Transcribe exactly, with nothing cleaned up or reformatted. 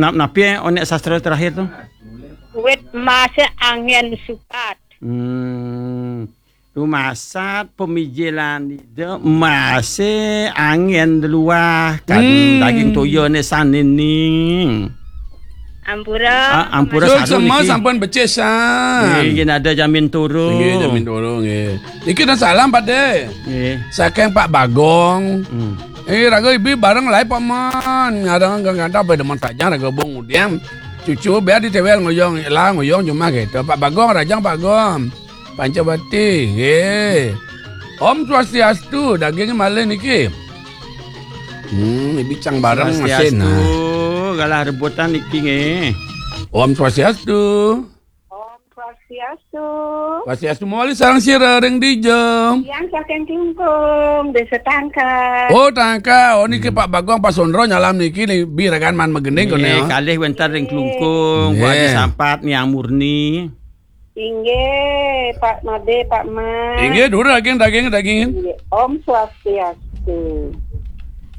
Nap napi onék sastra terakhir tu? Wit emasé anggén sukat. Hmm. Rumasat pemijilan ida emasé anggén deluah, kadén Hmm. daging toya né sané ning. Ampura. Ah, ampura Suk sadu sema niki. Sampun becik san. Nggih, nggih, ada jamin turu. Nggih, jamin turu, nggih. Niki dan salam, Pak Dé. Nggih. Saking Pak Bagong. Hmm. Eh, raga ibi bareng lai Pak Man. Ngarang gantap pada mentajang raga bong udiam. Cucu biar ditewel ngoyong lah, ngoyong cuma gitu. Pak Bagong, rajang Pak Bagong. Pancawati, nggih. Om Swastiastu, daging malih niki. Hmm, ibi cang bareng Swastiastu, mesin, nah. Galah rebutan niki nggih. Om Swastiastu. Om Swastiastu. Swastiastu mawali sareng sira ring dija. Yang saking Klungkung, Desa Tangka. Oh, Tangka. Oh, niki Hmm. Pak Bagong, Pak Sondro nyalam niki nih, bi ragan man magending kono. Nggih, kalih wénten ring Klungkung, Bu Adi Nggih. Sampat, Niang Murni. Inggih, Pak Madé, Pak Mas. Inggih, dulu daging, daging, daging. Inggih. Om Swastiastu.